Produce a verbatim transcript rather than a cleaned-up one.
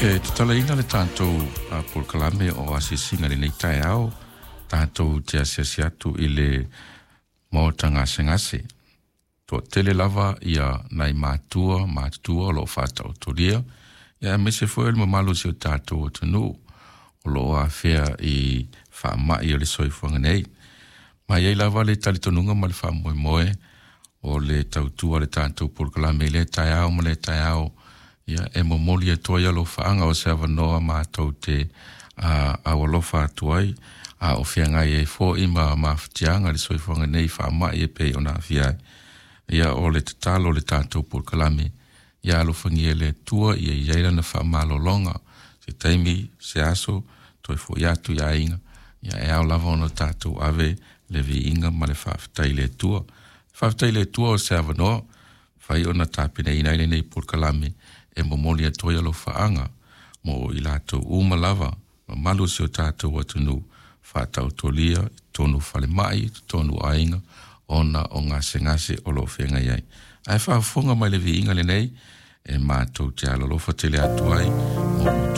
E tatalaina le tatou polokalame o asiasiga i lenei taeao, tatou te asiasi atu i le maota gasegase. Toatele lava ia nai matua matutua o lo o faataotolia, ia aemaise foi o le mamalu o si o tatou atunuu o lo o afea i faamai o le soifuaga nei. Ma e i ai lava le talitonuga ma le faamoemoe o le tautua a le tatou polokalame i lea taeao ma lea taeao, ia e momoli atu ai alofaaga o se avanoa matou te aualofa atu ai, a o feagai ai foi ma mafatiaga le soifuaga nei faamai e pei ona aafia ai. Ia o le tatalo o le tatou polokalame, ia alofagia e le Atua ia i ai lana faamalologa, se taimi, se aso, toe foi atu i aiga, ia e ao lava ona tatou ave le viiga ma le faafetai i le Atua. Faafetai i le Atua o se avanoa, fai ona tapenaina ai lenei polokalame e momoli atu ai alofaaga mo i latou uma lava, mamalu o si o tatou atunuu, faataotolia i totonu o falemai, i totonu o aiga, ona o gasegase o lo o feagai ai. Ae faafofoga mai le viiga lenei, e matou te alolofa tele atu ai mo outou.